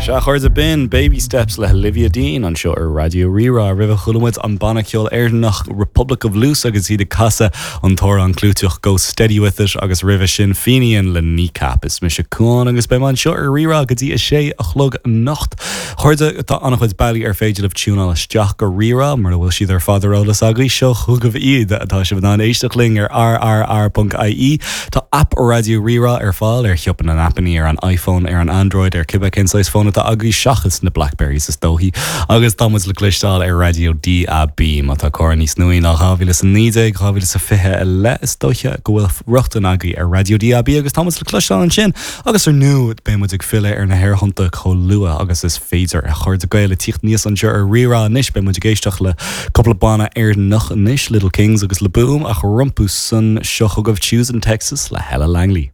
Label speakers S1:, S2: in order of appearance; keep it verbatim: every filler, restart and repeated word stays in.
S1: Sea, a chairde, b'in Baby Steps le Olivia Dean anseo ar Raidió Rí-Rá. Roimhe chuala muid an banna ceoil Éireannach Republic of Loose agus iad ag casadh an t-amhrán clúiteach Go Steady With It agus roimhe sin Fenian le Kneecap. Is mise Cuán agus beidh mé anseo ar Rí-Rá go dtí a sé a chlog anocht. A chairde, tá an-chuid bealaí ar féidir libh tiúnáil isteach go Rí-Rá mura bhfuil siad ar fad ar eolas agaibh seo chugaibh iad tá sibh in ann éisteacht linn ar R R R ponc I E. Tá app Raidió Rí-Rá ar fáil ar shiopa na n-aipeanna ar an iPhone ar an Android ar cibé cén saghas fón atá agaibh seachas na Blackberries is dóichí agus tá muid le cloisteáil ar raidió D A B má tá carr níos nuaí ná dhá mhíle is a naoi déag dhá mhíle is a fiche i leith is dóiche go bhfuil rochtain agaibh ar raidió D A B agus tá muid le cloisteáil ansin agus ar ndóigh beidh muid ag filleadh ar na haerthonnta chomh luath agus is féidir a chairde Gael ag tíocht aníos anseo ar Rí-Rá anois beidh muid ag éisteacht le cúpla banna Éireannach anois Little Kings agus Le Boom ach rompu san seo chugaibh Choosing Texas le Hella Langley.